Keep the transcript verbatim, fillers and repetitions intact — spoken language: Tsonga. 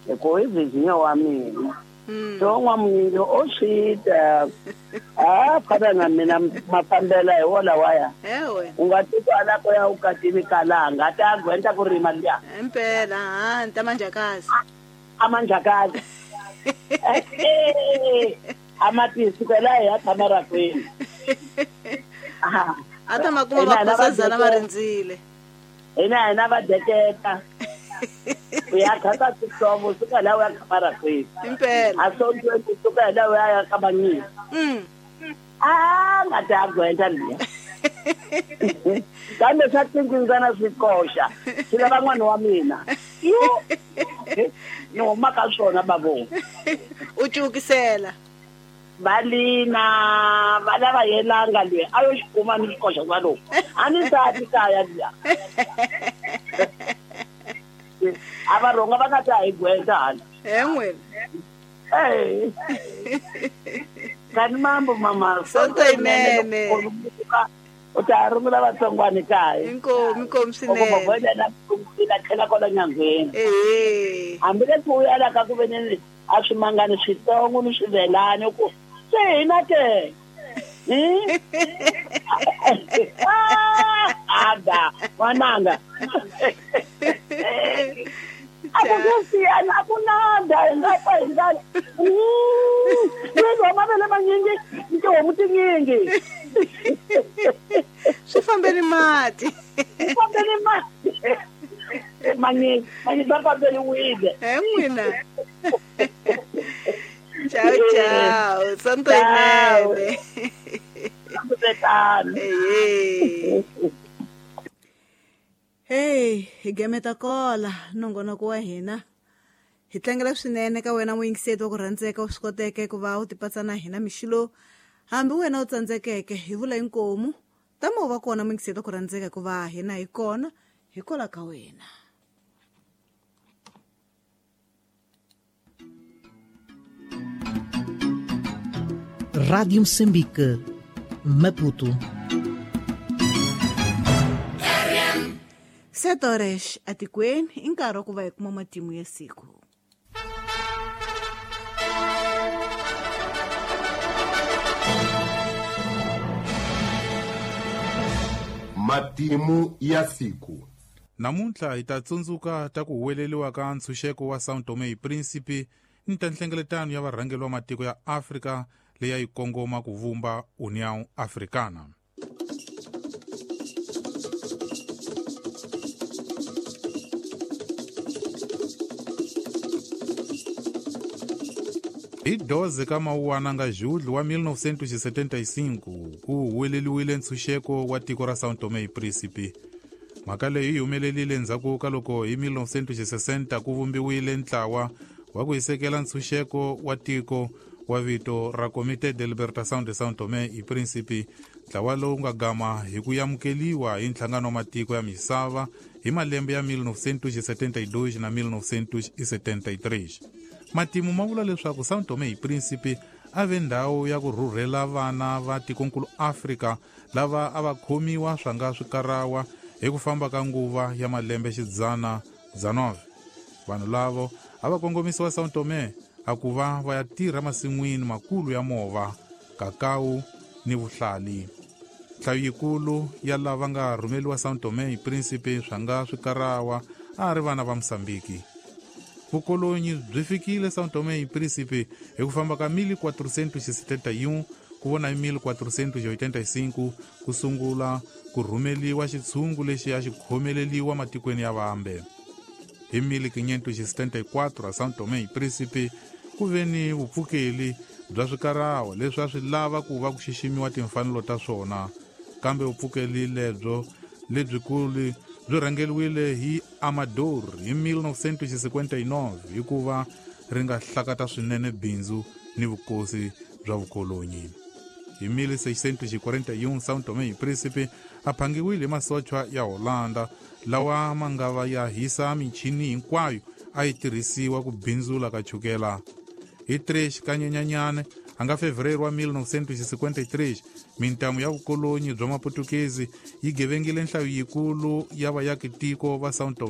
Hikuva i Virginia wa mina. So n'wamunyingi o swi ta a fana na mina mafambela hi wona waya. Ewe. U nga titwa la ku ya ukatini kalanga ta gwenta ku rima liya. Impela ha nta manjakazi. A manjakazi. Eh amatisukela ya thamara kwini. Aha. Ata makuma vakhosazana va rindzile. Hina hina va deketa. Uya khata swihlovo suka la uya khamara kwini. Impela. A sontweni kusuka la uya ya kabanyini. Mm. Ah nga ta gwenta liya. Kambe swa tindzana swi koxa. Swi lava n'wana wa mina. Yo. Ni huma ka swona babo. U cukisela. Balina va lava yelanga loyi a yo xikuma ni xikoxa swa lowu. A ni sati kaya liya. A va rhonga va nga ta hi gwenta hala. He n'wina. Eh. Kani mambo mama. Sonto yinene. U ta rungula vatsongwana kaya. Inkomu inkomu swinene. Loko va na ku tlhela kwala nyangweni. Eh. Hambileswi u ya la ka ku ve ni a swimangani switsongo ni swivelani ku se hina ke. Hmm? Ada, n'wananga. A ku ku siyana a ku nada hi nga pfa hi nga. Ni mavele manyingi ni tihomu tinyingi. Swi fambeni mati. Swi fambeni mati. Manyingi, manyingi va famberiwile. He n'wina. Ciao ciao, sonto yinene. Eh. Hey, hi gameta kola nongonoko wa hina. Hi tlangela swinene ka wena muyingiseti wa ku rhandzeka u swi koteke ku va u tipatsa na hina mixilo. Hambi wena u tsandzekeke hi vula inkomu, tama u va kona muyingiseti wa ku rhandzeka ku va hina hi kona hikwalaho ka wena. Rádio Moçambique, Maputo. Sete horas atikweni i nkarhi wa ku va hi kuma matimu ya siku. Matimu ya siku. Namuntlha hi ta tsundzuka ta ku huweleriwa ka ntshunxeko wa São Tomé e Príncipe ni ta nhlengeletano ya varhangeri va matiko ya Afrika leyi a yi kongoma ku vumba União Africana. Hi doze ka Mawuwana nga Julho wa mil novecentos e setenta e cinco ku huweleriwile ntshunxeko wa tiko ra São Tomé e Príncipe. Mhaka leyi yi humelerile endzhaku ka loko hi mil novecentos e sessenta ku vumbiwile ntlawa wa ku hisekela ntshunxeko wa tiko wa vito ra Comité de Libertação de São Tomé e Príncipe, ntlawa lowu nga gama hi ku amukeliwa hi nhlangano wa matiko ya misava hi malembe ya mil novecentos e setenta e dois na mil novecentos e setenta e três. Matimu ma vula leswaku São Tomé e Príncipe a ve ndhawu ya ku rhurhela vana va tikonkulu Afrika lava a va khomiwa swa nga swikarawa hi ku famba ka nguva ya malembe xidzana dezenove. Vanhu lavo a va kongomisiwa São Tomé a ku va va ya tirha masin'wini makulu ya mova, kakao ni vuhlali. Nhlayo yikulu ya lava nga rhumeliwa São Tomé e Príncipe swa nga swikarawa a ri vana va Mosambiki. Vukolonyi byi fikile São Tomé e Príncipe hi ku famba ka mil quatrocentos e setenta e um ku vona hi mil quatrocentos e oitenta e cinco ku sungula ku rhumeliwa xitshungu lexi a xi khomeleliwa matikweni ya vambe. Hi mil quinhentos e setenta e quatro a São Tomé e Príncipe ku ve ni vupfukeli bya swikarawa leswi a swi lava ku va ku xiximiwa timfanelo ta swona, kambe vupfukeli lebyo lebyikulu byi rhangeriwile hi Amador hi mil novecentos e cinquenta e nove hikuva ri nga hlakata swinene bindzu ni vukosi bya vukolonyi. Hi mil seiscentos e quarenta e um São Tomé e Príncipe a phangiwile hi masochwa ya Holanda lawa ma nga va ya hisa michini hinkwayo a yi tirhisiwa ku bindzula ka chukela. Hi três ka Nyenyanyana a nga fevereiro wa mil novecentos e cinquenta e três mintamu ya vukolonyi bya maputukezi yi gevengile nhlayo yikulu ya vayakitiko va São Tomé.